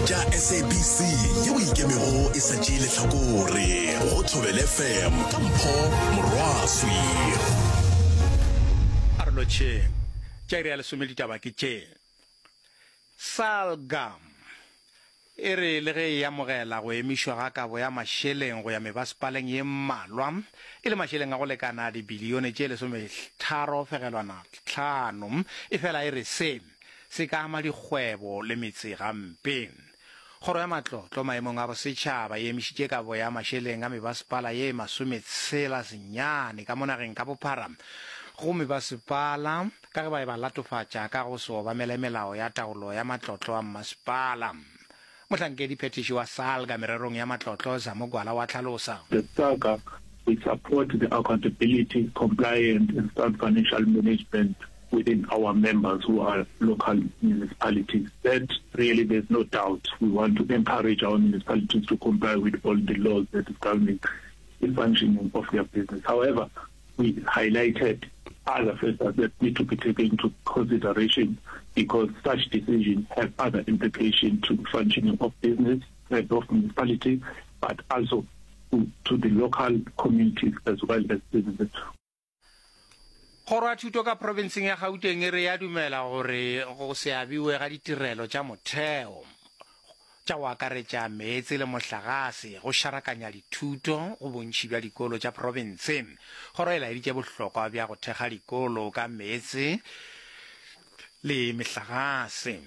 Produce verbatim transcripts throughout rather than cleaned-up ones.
Tša S A B C yeo ikemego e sa tšee lehlakore go Thobela F M ka Mpho Morwaswi. A re lotšheng. Tša iri ya lesome ditaba ke tše. Salga e re le ge e amogela go emišwa ga kabo ya mašeleng go ya mebasepaleng ye mmalwa, e le mašeleng a go lekana dibilione tše lesometharo fegelwana tlhano, e fela e re se se ka ama dikgwebo le metse gampe. Kgoro ya Matlotlo maemong a bosetšhaba e emišitše kabo ya mašeleng a mebasepala ye masometshela senyane ka mo nageng ka bophara go mebasepala ka ge ba e ba latofatša ka go se obamele melao ya taolo ya matlotlo a mmasepala. Mohlankedi phethiši wa Salga mererong ya matlotlo, Zamo Gwala, wa hlalosa. The SALGA, we support the accountability, compliance and sound financial management within our members who are local municipalities. That really there's no doubt. We want to encourage our municipalities to comply with all the laws that is governing the functioning of their business. However, we highlighted other factors that need to be taken into consideration because such decisions have other implications to the functioning of business and of municipality, but also to, to the local communities as well as businesses. Kgoro ya Thuto ka profenseng ya Gauteng e re ya dumela gore go se abiwe ga ditirelo tša motheo tša go akaretša meetse le mohlagase go šarakanya dithuto go bontši bja dikolo tša profense. Kgoro e laeditše bohlokwa bja go thekga dikolo ka meetse le mehlagase,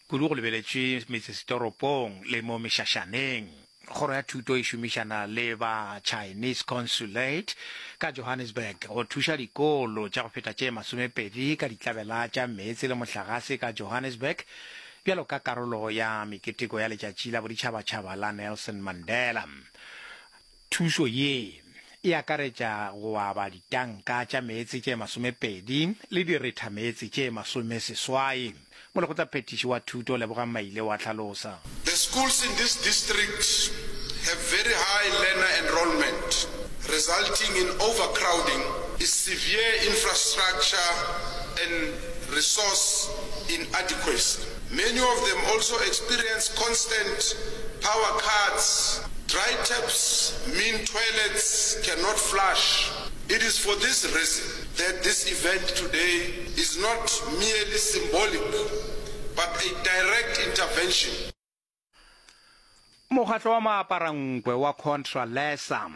kudu go lebeletšwe metsesetoropong le mo mešašaneng. Kgoro ya Thuto e šomišana le ba Chinese Consulate ka Johannesburg go thuša dikolo tša go feta tše masomepedi ka ditlabela tša meetse le mohlagase ka Johannesburg bjalo ka karolo ya meketeko ya letšatši la boditšhabatšhaba la Nelson Mandela. Thušo ye e akaretša go aba ditanka tša meetse tše masomepedi le direthameetse tše masomeseswai. Molekgotlaphethiši wa Thuto, Lebogang Maile, wa hlalosa. The schools in this district have very high learner enrollment, resulting in overcrowding, severe infrastructure and resource inadequacy. Many of them also experience constant power cuts. Dry taps mean toilets cannot flush. It is for this reason that this event today is not merely symbolic, but a direct intervention. Mokgatlo wa maaparankwe wa Contralesa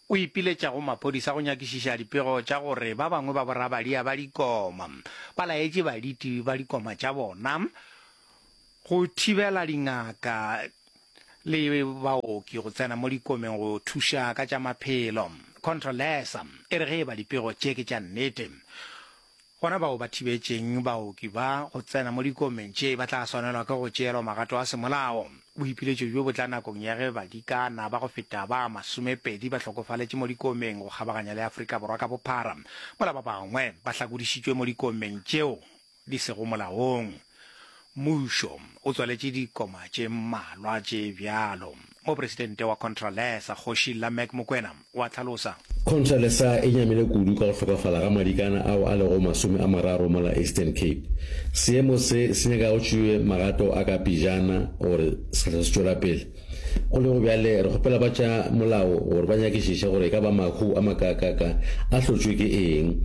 o ipiletša go maphodisa go nyakišiša dipego tša gore ba bangwe ba borabadia ba dikoma ba laetše baditi ba dikoma tša bona go thibela dingaka le baoki go tsena mo dikomeng go thuša ka tša maphelo. Contralesa e re ge e ba dipego tše ke tša nnete, gona bao ba thibetšeng baoki ba go tsena mo dikomeng tše ba tla swanelwa ke go tšeelwa magato a semolao. Boipiletšo bjo bo tla nakong ya ge badikana ba go feta ba masomepedi ba hlokofaletše mo dikomeng go kgabaganya le Afrika Borwa ka bophara, mola ba bangwe ba hlakodišitšwe mo dikomeng tšeo di sego molaong. Mmušo o tswaletše dikoma tše mmalwa tše bjalo. Mopresidente wa Contralesa, Kgoši Lameck Mokwena, o a hlalosa. Contralesa e nyamile kudu ka go hlokafala ga madikana ao a lego masome a mararo mola Eastern Cape. Seemo se se nyaka go tšewe magato a ka pejana gore se hlwe se tšwela pele. Go lego bjale, re kgopela ba tša molao gore ba nyakišiše gore e ka ba mahu a makaakaka a hlotšwe ke eng.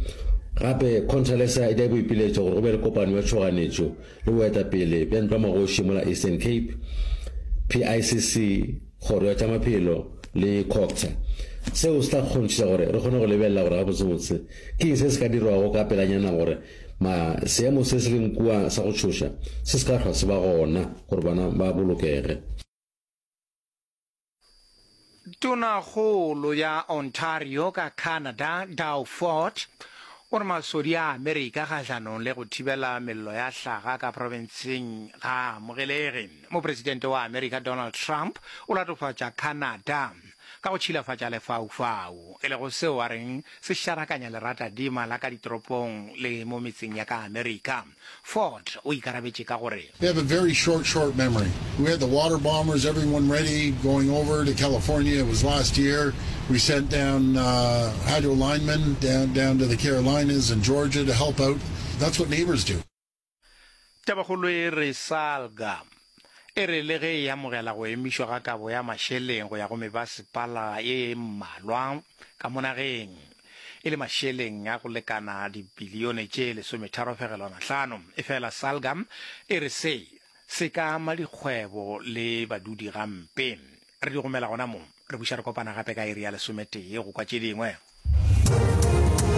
Gape, Contralesa e dira boipiletšo gore go be le kopano ya tšhoganetšo le boetapele bja Ntlwamagoši mola Eastern Cape, P I C C, Kgoro ya tša Maphelo le COGTA. Seo se tla kgonthiša gore re kgone go lebelela gore gabotsebotse ke eng se se ka dirwago ka pelanyana gore ma seemo se se leng kua sa go tšhoša se se ka hlwa se ba gona gore bana ba bolokege. Tonakgolo ya Ontario ka Canada, Doug Ford, o re masodi a Amerika kgahlanong le go thibela mello ya hlaga ka profenseng ga a amogelege. Mopresidente wa Amerika Donald Trump o latofatša Canada ka go tšhilafatša lefaufau, e lego seo a reng se šarakanya leratadima la ka ditoropong le mo metseng ya ka Amerika. Ford o ikarabetše ka gore. They have a very short, short memory. We had the water bombers, everyone ready, going over to California. It was last year. We sent down uh, hydro linemen down, down to the Carolinas and Georgia to help out. That's what neighbors do. Tabakgolo e re Salga e re le ge e amogela go emišwa ga kabo ya mašeleng go ya go mebasepala ye mmalwa ka mo nageng, e le mašeleng a go lekana dibilione tše lesometharo fegelwana hlano, efela Salga e re se se ka ama dikgwebo le badudi gampe. Re di gomela gona mo, re buša re kopana gape ka iri ya lesometee go kwa tše dingwe.